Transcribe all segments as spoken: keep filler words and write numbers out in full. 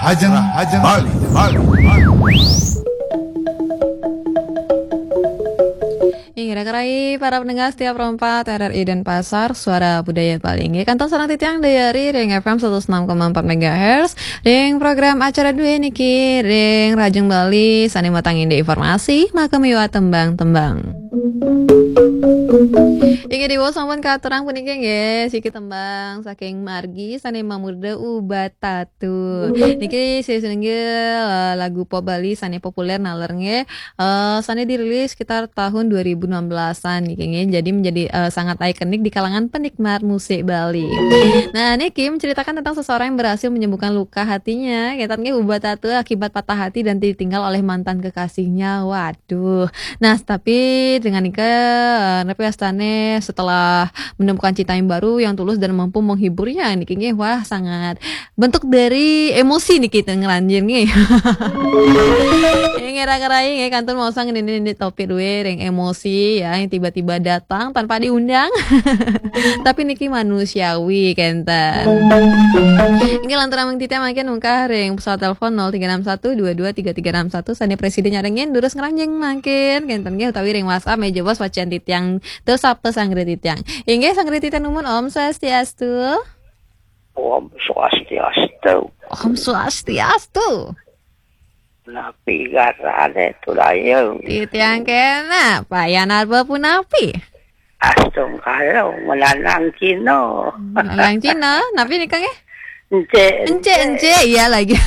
Ajeng, ajeng, Bali, Bali, Bali. Inggih, rai para pendengar setia Pro empat R R I Denpasar, Suara Budaya Bali. Inggih, kantun sareng titiang Dayari ring F M seratus enam koma empat megahertz, ring program acara dué niki, ring Rajeng Bali, sané matangin informasi, maka miwah tembang-tembang. Inggih, diwau sampun katurang puniki nggih, siki tembang saking margi sané mamurda Ubat Tatu. Niki salah satunggal, eh, lagu pop Bali sané populer naler nggih, eh, sané dirilis sekitar tahun dua ribu enam belasan niki nggih. Jadi menjadi, eh, sangat ikonik di kalangan penikmat musik Bali. Nah, niki menceritakan tentang seseorang yang berhasil menyembuhkan luka hatinya. Kénten nggih, Ubat Tatu akibat patah hati dan ditinggal oleh mantan kekasihnya. Waduh. Duh. Nah, tapi dengan nika, eh, napi wastané setelah menemukan cinta yang baru yang tulus dan mampu menghiburnya niki nggih, wah, sangat bentuk dari emosi niki ten ngranjing nggih. Nggih, rai-rai nggih, kantun maosang nini-nini topik dué ring emosi ya, yang tiba-tiba datang tanpa diundang. Tapi niki manusiawi kénten. Inggih, lanturang mangkin titiang mangkin mungkah ring pesawat telepon nol tiga enam satu dua dua tiga tiga enam satu, sané prasida nyarengin durus ngranjing mangkin kénten nggih, utawi ring WhatsApp méh jebos wacan titiang, tur sapa sangrih titiang. Inggih, sangrih titiang numun, Om Swastiastu. Om Swastiastu. Om Swastiastu. Napi garané, Tudayu? Titiang kéné, Pak Yan Arba punapi? Astungkara menanang Cina. Menanang Cina, napi nika nggih? Encik, encik, encik, iya lagi.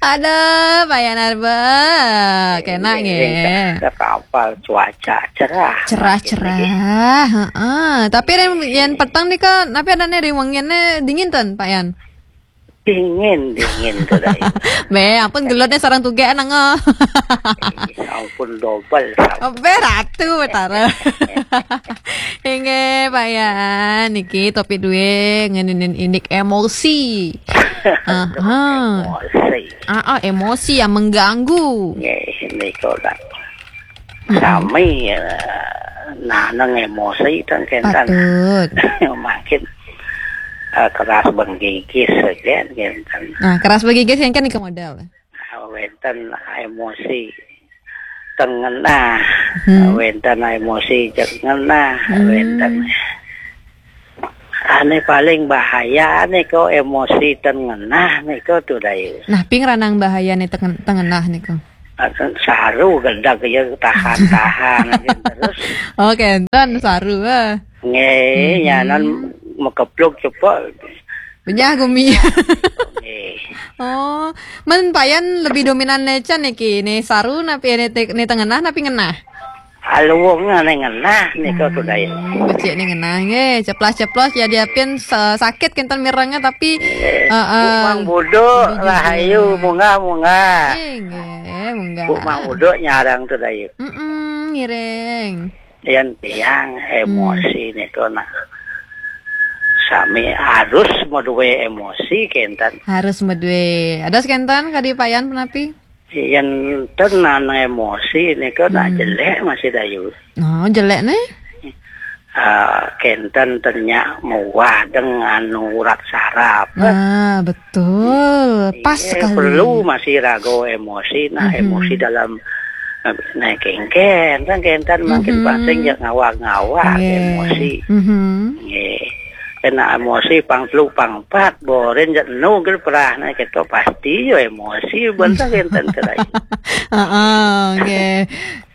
Aduh, Pak Yan Arba, kéné nggih. Kapal cuaca cerah. Cerah, cerah, heeh. Tapi yen, yen peteng nika, napi adané ring wenginé dingin ten, Pak Yan? Dingin, dingin Tudayu. Bé, ampun gelutné sareng tugékan, nggih. Ampun dobel. Bé, Ratu Betara. Inggih, Pak Yan. Niki topik dué ngeninin indik emosi. Aha. Emosi. Ah, ah, emosi yang mengganggu. Nggih, nika lah. Sami, eh, nanang emosi ten kénten. Patut. Mangkin, eh, keras menggigis saja kénten. Nah, keras menggigis yang kan nika modal. Ah, wénten emosi ten ngenah, wénten emosi ten ngenah, wénten. Ané paling bahaya nika emosi ten ngenah nika Tudayu. Nah, ping ranang bahayané ten, ten ngenah nika. Saru gedeg ya, tahan-tahan aja terus. Oh, kénten saru, ah. Nggih, nyanan makepluk cepok. Benyah gumi. Nggih. Oh, men Pak Yan lebih dominan nécen niki, né saru napi né te-, né ten ngenah napi ngenah? Aluwung ané ngenah nika Tudayu. Hmm, becik né ngenah nggih, ceplas-ceplos ya diapin sa-, sakit kénten mirengé tapi, heeh. Bu Mang Buduk, rahayu, munggah-munggah. Inggih, munggah. Bu Mang Buduk nyarang Tudayu. Mm-mm, ngiring. Yén tiang emosi nika nak sami harus madué emosi kénten. Harus madué. Ada kénten kadi Pak Yan punapi? Yén ten nanang emosi nika nak jelék masih Dayu. Oh, jelék né? Ah, kénten ten nyak muah deng anu urat saraf. Ah, betul. Pas sekali. Perlu masih raga emosi, nah, emosi dalam, eh, nah, kéngkén, kan kénten mangkin pasing jak ngawag-ngawag emosi. Nggih. Kena emosi pang telu pang empat, borin jak nu gel perah, nah, kita pasti ya emosi, bantah kénten kerai. Heeh, nggih.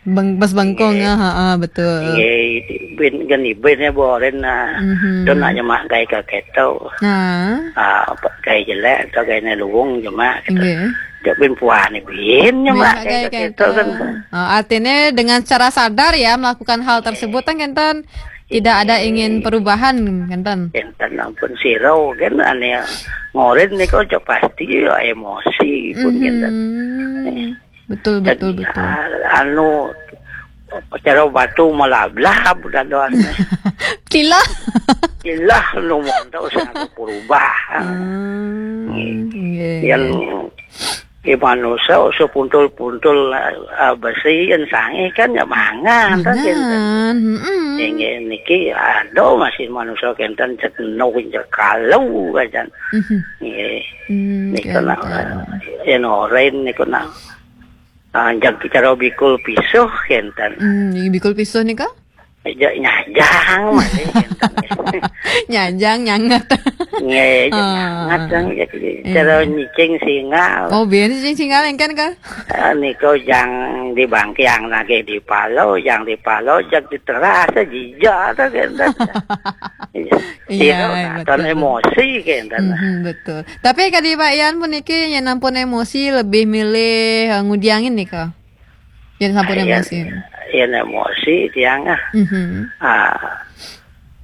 Beng-, bas bengkong, ah, ha, ah, betul. Nggih, bin, geni bin ya boren, nah. Don nak nyemak gai ka keto. Ah. Ah, gaé jelék atau gaé ne luwung nyemak gitu. Nggih. Dek bin puan ni bin nyemak gai ka keto kan. Oh, artinya dengan secara sadar ya melakukan hal tersebut kan, kenten tidak ada ingin perubahan, kenten. Kenten ampun siro kan ane ngorin niko cok pasti ya emosi pun kenten. Betul, betul, betul. Anu, cara batu malablab dadoan. Tilah. Tilah nu mondo sing aku berubah. Hmm, nggih. Yang Ih, manusa usuh puntul-puntul, ah, besi yen sangeh kan ya mangan, kan, kinten. Mangan, mm-mm. Inggih, niki ada masih manusa kinten cek no, cek kalu, kacan. Mhm. Nggih. Hmm, nika nak, kinten. Yen oren niku nak, ah, jag cara bikul pisuh, kinten. Hmm, bikul pisuh nika? Ja-, nyajang masih, kinten. Nyajang, nyanget. Nggih, ah, nyanget kan, jadi iya, cara nyicing singal. Oh, biyen nyicing singal engken ka? Ah, niku jang di bangkiang nagih di palo, jang di palo, jag di teras, jija, ta, kinten. Iya, iya, katon betul. Emosi, kinten. Mhm, betul. Tapi kadi Pak Yan puniki yen ampun emosi lebih milih, eh, ngudiangin nika. Yen sampun, ah, yen, emosi. Yen emosi tiang, ah. Mhm. Ah,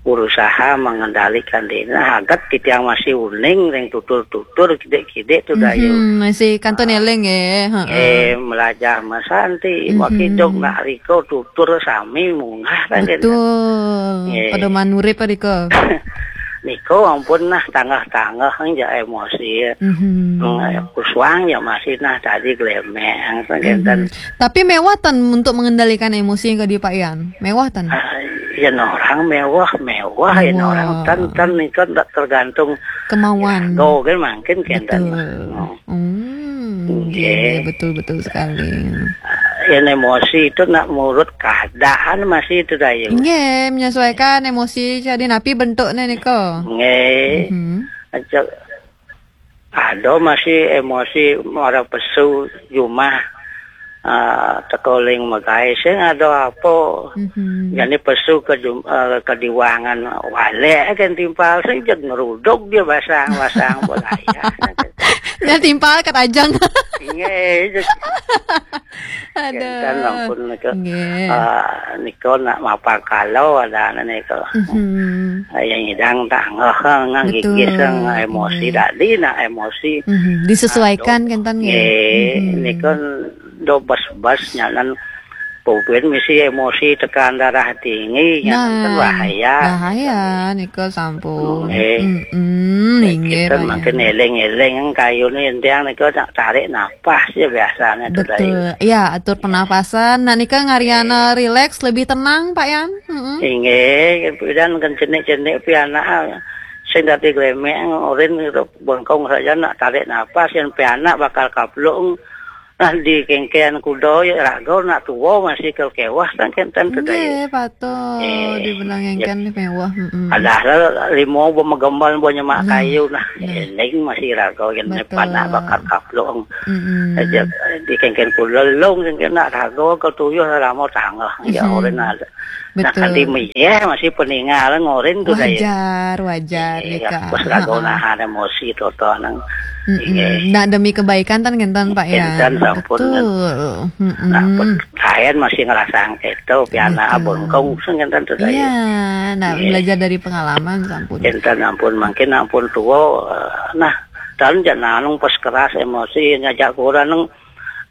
berusaha mengendalikan diri. Nah, aget titiang masih uning ring tutur-tutur kidik-kidik tu, Dayu. Mhm, masih kantun eling nggih, heeh. Eh, melajah mesanti, mhm, makidung nak riko tutur sami munggah kan, kinten. Betul. Nggih. Pada manurip riko. Niku ampun nah tanggah-tanggah, ya emosi. Mhm. Hmm, ya kusuang ya masih nah tadi glemek, kan, kinten. Mhm. Tapi mewah ten untuk mengendalikan emosi yang kadi Pak Yan? Mewah ten? Ah, yen orang mewah, mewah, yen orang ten, ten niku ndak tergantung kemauan. Iraga kan mangkin, kinten. Betul. Oh. Hmm, nggih, nggih, betul, betul sekali. Yen emosi itu nak murut keadaan masih itu, Dayu. Nggih, menyesuaikan emosi jadi napi bentuknya nika. Nggih. Mhm. Aja ada masih emosi mara pesu jumah, ah, teka ling megai sing ada apa. Mhm. Jani pesu ke jum-, eh, ke diwangan walek kan timpal sing jeg ngeruduk dia basang-basang bolayah. Nya timpal kat ajang. Nggih, jeg. Aduh. Kinten ampun nika. Nggih. Ah, nika nak mapakala ada nika. Mhm. Ah, yang idang tanggah, ngang gigis, betul, ngang emosi, nggih, tadi nak emosi. Mhm. Disesuaikan, aduh, kinten nggih. Nggih, mhm, nika do bas-bas nyanan pupin misi emosi tekan darah tinggi, nyanan kan bahaya. Nah, bahaya nika sampun. Nggih. Mm-mm, nggih, inggih, kita bahaya. Makin eling-eling kayune entiang nika nak tarik napas ya biasanya tu, Dayu. Betul. Ya, atur pernapasan. Nah, nika ngariana rileks, lebih tenang, Pak Yan. Mm-mm. Inggih, pidan kan cenik-cenik pianak sing dadi glemek, orin gitu, bengkong saja nak tarik napas, yang pianak bakal kaplung. Nah, di kengkean kuda ya raga nak tua masih kel kewah kan kinten tu, Dayu. Nggih, patut. Eh, dibenang ya, engken mewah, mm-mm. Padahal limo bo megembal bo nyemak, nah, kayu, nah, nah. Eling masih raga yang, betul, panak bakal kaplung. Mm-mm. Aja di kengken kuda lung, kengken nak raga ke tuyuh lama tanggah. Ya, mhm, orin ada. Nah, betul. Kanti meyeh masih peninggal ngorin tu, Dayu. Wajar, wajar, eh, nika. Pas lagu, heeh, nahan emosi toto nang. Mm-mm. Inggih. Nah, demi kebaikan tan kinten, Pak, ya. Kinten sampun. Betul. Mm-mm. Nah, pun kain masih ngerasang keto, piana, betul, abengkong sing kinten tu, Dayu. Iya, nah, inggih, belajar dari pengalaman sampun. Kinten ampun, mungkin ampun tua, eh, nah, dan jangan pas keras emosi ngajak kurang nang,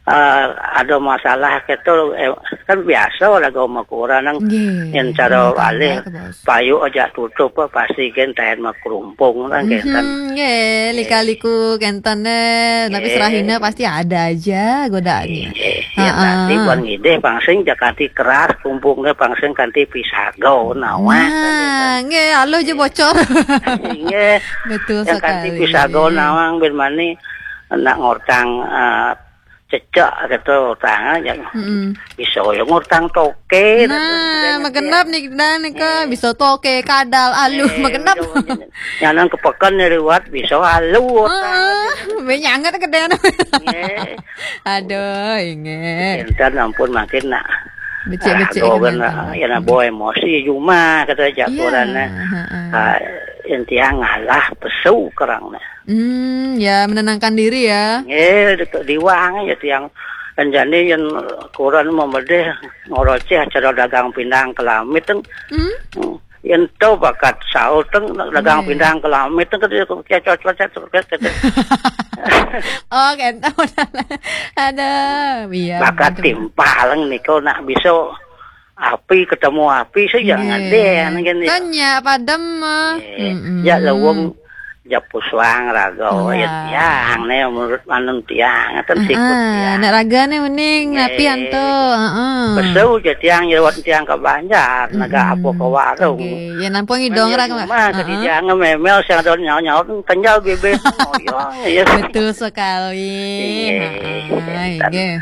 eh, ada masalah keto, eh, kan biasa lah gua mau kurang nang. Nggih, yang cara rumah tangga alih tu, Bos. Payu aja tutup, eh, pasti kan tahan mah kerumpung kan, mhm, kinten. Nggih, lika-liku kinten, eh, tapi, nggih, serahina pasti ada aja godaannya. Nggih, ya, heeh, nanti buat ngidih pangsing jak kanti keras, kumpungnya pangsing kanti pisago, nawang, nah, kan, kinten. Nggih, aluh aja bocor. Nggih. Betul sekali. Yang kanti pisago, nggih, nawang, ben mani nak ngortang, eh, cecak kata orang aja. Mm-mm. Bisa ya ngortang toke. Nah, magenep nih, dan nika, eh, bisa toke, kadal, aluh, eh, magenep. Nyanang ke pekan ni liwat, bisa aluh ngortang. Heeh, be nyanget gede. Nggih. Aduh, inggih. Kinten ampun makin nak. Becik-becik ah, kan, kinten. Nak, ya nak bawa emosi cuma kata jakuran, iya, heeh. Ah, yang tiang ngalah pesu kerang nah. Hmm, ya, menenangkan diri ya. Nggih, dekat diwang ya tiang. Kan jani yang kurang memedih ngoroceh acara dagang pindang kelamit teng. Hmm? Hmm. Yang tu bakat sahur teng dagang, nggih, pindang kelamit teng, kecot-kecot. Oh, kentau. Aduh, iya, bakat betul. Timpal niku nak bisa api ketemu api saja, nggih, ngadeh, nggih. Kan nya padem, eh. Nggih. Mm-mm. Ya lawang Jepusang raga, ya, tiang ne, menurut manun tiang, ten sikut tiang. Nek raga ne uning, napi anto, heeh. Besu je tiang nyewat tiang ke Banjar, nega apa ke warung. Nggih, ya nampo ngidong raga. Mah ke tiang memel sing ada nyaut-nyaut, kenjal bibir ngoyong, ya. Betul sekali. Heeh, nggih.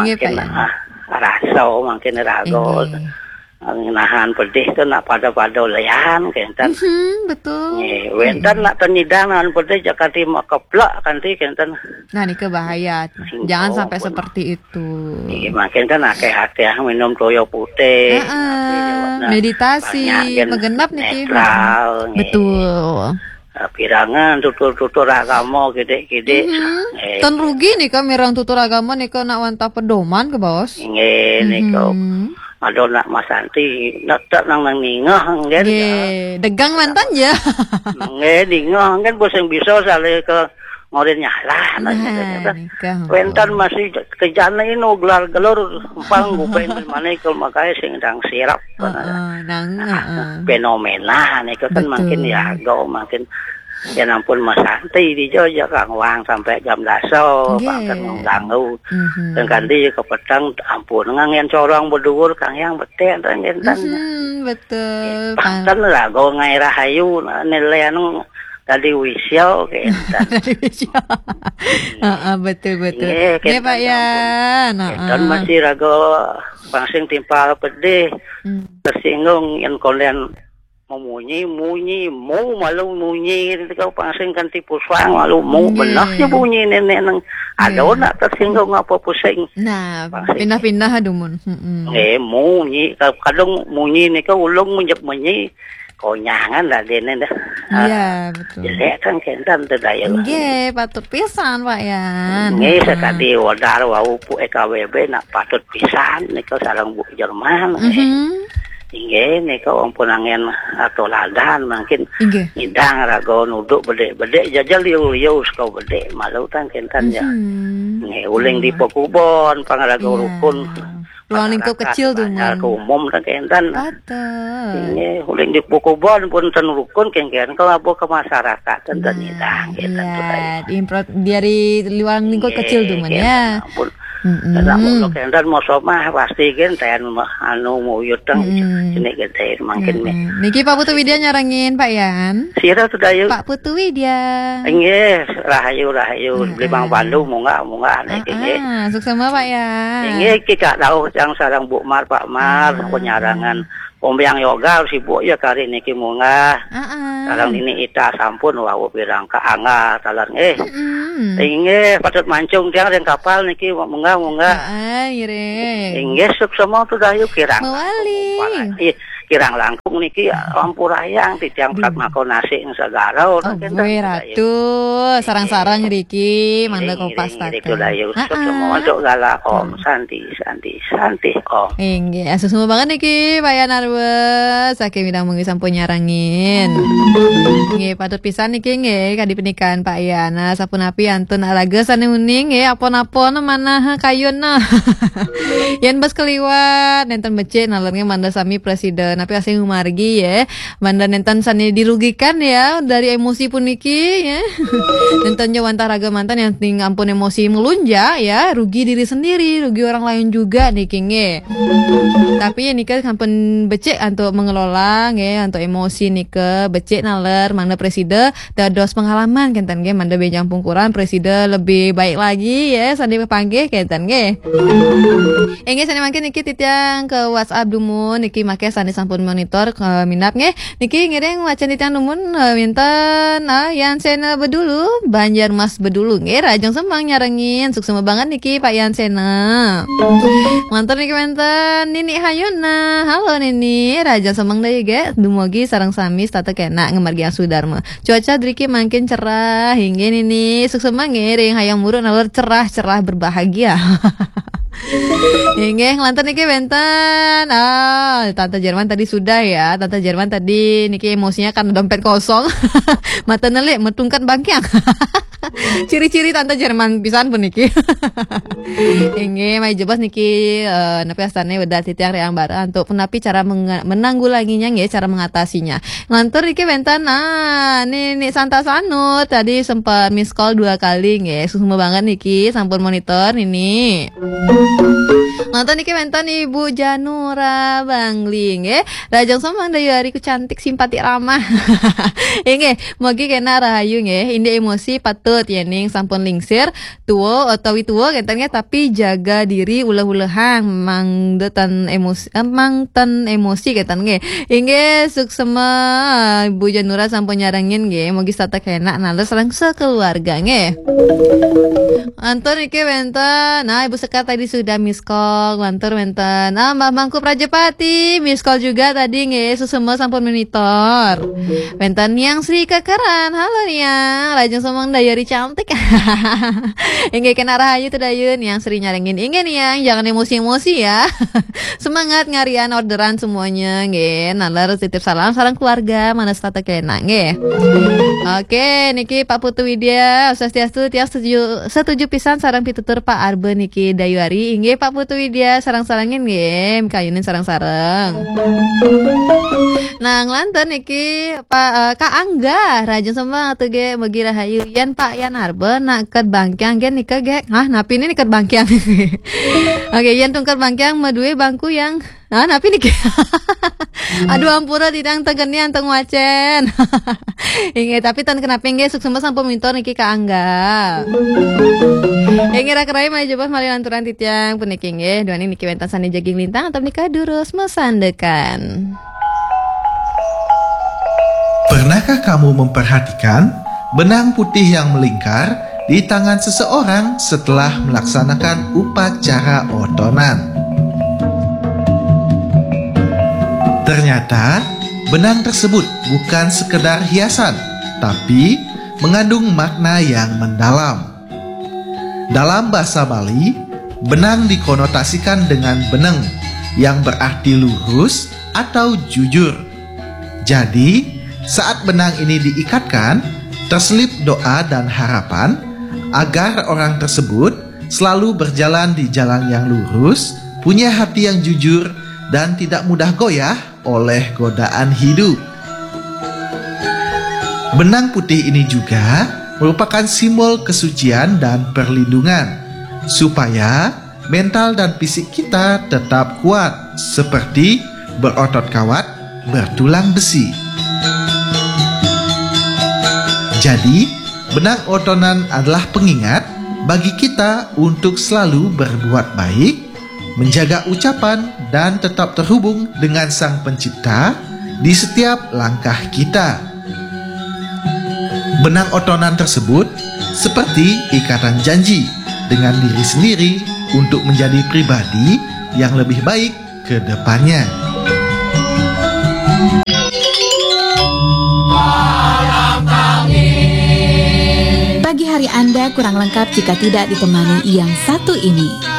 Nggih, Pak, ya. Rasa makin raga. Nggih. Nahan pedih tu nak pada-pada lian, kenten. Mhm, betul. Nggih, wenten nak tenyidang nahan pedih, jak kanti mak keplak kanti, kenten. Nah, nika bahaya. Jangan sampai seperti itu. Nggih, makin kan akeh-akeh minum toyo putih. Heeh, meditasi, banyak kan megenap niki. Netral, nggih. Betul. Eh, pirangan tutur-tutur agama kidik-kidik. Mhm. Eh. Ten rugi nika mireng tutur agama nika nak wantah pedoman ke, Bos? Nggih, nika. Mhm. Ada nak Mas Santi, nak tak nang, nang ningah, nggih. Nggih, degang mantan ya. Nggih, ningah, nggih, bos yang bisa saleh ke ngorin nyalah, nah, gitu, gitu. Nika. Wenten masih kejane ino gelar-gelur, empang gupeng di mana ke makanya sing dang sirap, heeh, nang, heeh. Fenomena nika kan makin ya, makin ya ampun Mas Santi di Jogja kang wang sampai jam daso, nggih. Bangken mengganggu. Mhm. Dan kanti ke petang, ampun, ngangen corong berdua, kang yang betek, dan, dan, dan. Mhm, betul. Panten lah, go ngai rahayu, nah, nilai anu tadi wisyo, kenten. Tadi wisyo. Heeh, betul, betul. Nggih, nggih, Pak Yan. Heeh. Masih raga pangsing timpal pedih. Hmm. Tersinggung yang konden memunyi, munyi, mu malu munyi, gitu, kau pangsing kan tipu suang malu mu. Nggih. Benar sih bunyi nenek nang. Ada nak tersinggung apa pusing. Nah, pangsing pindah-pindah dumun. Mm-mm. Nggih, munyi. Kadang munyi nika ulung menjek munyi. Konyangan lah dene dah. Iya, betul. Jelek kan kenten teu daya. Nggih, patut pisan, Pak Yan. Nggih, heeh. Sekali wadar wau pu E K W B nak patut pisan nika sareng Bu Jerman. Mhm. Inggih, nika wong punangen atau ladan mungkin. Inggih. Ngidang raga nuduk bedek-bedek jajal liu-liu saka bedek malu kan kenten ya. Mhm. Nggih, uling di pekubon, pangaraga rukun. Ruang lingkup kecil tuh, Mun. Ke umum kan kenten. Betul. Nggih, uling di pekubon pun ten rukun kengken kalau apa ke masyarakat ten, ten ngidang kenten tuh. Iya, dari ruang lingkup kecil tuh, Mun, ya. Ampun. Mm-mm. Karena kalau kenten mau somah pasti kenten anu mau yutang ini kenten makin. Mm-mm. Niki Pak Putu Widya nyarengin, Pak Yan. Sira tuh dayu. Pak Putu Widya. Inggih, rahayu, rahayu. Heeh. Beli Mang Pandu, munggah, munggah, niki, nggih. Heeh, suksema, Pak Yan. Inggih, kita tahu yang sarang Bu Mar, Pak Mar, penyarangan. Ombyang Yoga sibuk ya kari niki munggah. Heeh. Sarang ini ita sampun wau pirang ka angga talan, eh. Mm-mm. Inggih, patut mancung tiang ring kapal niki munggah, munggah. Heeh, ngiring. Inggih, suksema tuh dayu kirang. Mawali. Ih, kirang langkung niki ampurayang titiang prat mako nasi ing segara. Oh, gue ratu, sarang-sarang riki, mangda kompas tata. Riki dayu, semua untuk gala Om, santi, santi, santi, Om. Inggih, asuh semua banget niki, Pak Yan Arwes. Saking widang mungkin sampun nyarangin. Nggih, patut pisan niki, nggih, kadi penikan Pak Yan. Nah, sapunapi antun alaga sane uning, nggih, apon-apon manah kayun, nah. Yen bas keliwat, nenten becik, nalernya manda sami presiden. Tapi asing umargi, ya. Manda nenten sane dirugikan ya dari emosi puniki ya. Nenten jo wantah raga mantan yang ting ampun emosi melunjak ya, rugi diri sendiri, rugi orang lain juga niki nggih. Tapi ya nika sampun becik untuk mengelola nggih, untuk emosi nika becik naler mana presida dados pengalaman kenten nggih, manda benjang pungkuran presida lebih baik lagi ya, sandi panggih kenten nggih. Inggih sane mangkin niki titiang ke WhatsApp dumun niki make sane sampun monitor ke minap nggih. Niki ngiring wacan titiang dumun, eh, minten, ah, Yan Sena Bedulu, Banjar Mas Bedulu nggih, Rajang Semang nyarengin. Suksema banget niki Pak Yan Sena. Mantur niki wenten Nini Hayuna. Halo Nini, Rajang Semang daya ge. Dumugi sareng sami setata kena ngemargi Sudarma. Cuaca driki makin cerah. Inggih Nini, suksema ngiring hayang muruk nalar cerah-cerah berbahagia. Inggih, nglantur niki wenten. Ah, Tante Jerman tadi sudah ya. Tante Jerman tadi niki emosinya karena dompet kosong. Mata nelik, metungkan bangkiang. Ciri-ciri tante Jerman pisan puniki. Inggih, mari jebos niki, eh, napi astannya udah titiang reang barang untuk napi cara menga-, menanggulanginya nggih, cara mengatasinya. Ngantur niki wénten, nah, nih, nih Santa Sanur tadi sempat miss call dua kali nggih. Suksma banget niki, sampun monitor nini. Ngantur niki wénten Ibu Janura Bangli nggih. Rahajeng sombeng Dayu Ari ku cantik simpati ramah. Inggih, mugi kena rahayu nggih. Indik emosi patut yéning sampun lingsir, tua utawi tua kénten nggih, tapi jaga diri uleh-ulehang, mangda ten emosi, eh, mang ten emosi kénten nggih. Inggih, suksma Ibu Janura sampun nyarengin nggih. Mugi setata kenak nalus sareng sekeluarga nggih. Anton niki wénten. Nah, Ibu Sekar tadi sudah miss call, lantur wénten. Ah, Mbah Mangku Prajapati miss call juga tadi nggih, suksma sampun monitor. Wénten Niang Sri Kekeran. Halo Niang, rahajeng sombeng Dayu Ari cantik. Inggih kena rahayu tuh Dayu, Niang Sri nyarengin. Inggih Niang, jangan emosi-emosi ya. Semangat ngarian orderan semuanya nggih. Nalar titip salam sareng keluarga, mana setata kena nggih. Oke, niki Pak Putu Widya, swastiastu, tiang setuju, setuju pisan sareng pitutur Pak Arbe niki Dayu Ari. Inggih Pak Putu Widya, sareng-sarengin nggih, kayunin sareng-sareng. Nah, nglantur niki Pak, eh, Kak Angga, rahajeng sombeng atuh ge mugi rahayu. Yan Pak Yan Arbe nak ket bangkiang ge nika ge. Hah, napi ini nih ket bangkiang? Oke, yan tungkat bangkiang madue bangku yang, nah, napi nih? Aduh, ampura titiang tengenian teng wacén. Inggih, tapi ten kenapa nggih, suksma sampun monitor niki Kak Angga. Inggih, rakerai mari jebos malih lanturan titiang puniki nggih. Duaning niki wénten sané jagi nglintang atau nika durus masandekan. Pernahkah kamu memperhatikan benang putih yang melingkar di tangan seseorang setelah melaksanakan upacara otonan? Ternyata, benang tersebut bukan sekedar hiasan, tapi mengandung makna yang mendalam. Dalam bahasa Bali, benang dikonotasikan dengan beneng, yang berarti lurus atau jujur. Jadi, saat benang ini diikatkan, terselip doa dan harapan agar orang tersebut selalu berjalan di jalan yang lurus, punya hati yang jujur, dan tidak mudah goyah oleh godaan hidup. Benang putih ini juga merupakan simbol kesucian dan perlindungan, supaya mental dan fisik kita tetap kuat, seperti berotot kawat, bertulang besi. Jadi, benang otonan adalah pengingat bagi kita untuk selalu berbuat baik, menjaga ucapan, dan tetap terhubung dengan Sang Pencipta di setiap langkah kita. Benang otonan tersebut seperti ikatan janji dengan diri sendiri untuk menjadi pribadi yang lebih baik ke depannya. Pagi hari Anda kurang lengkap jika tidak ditemani yang satu ini.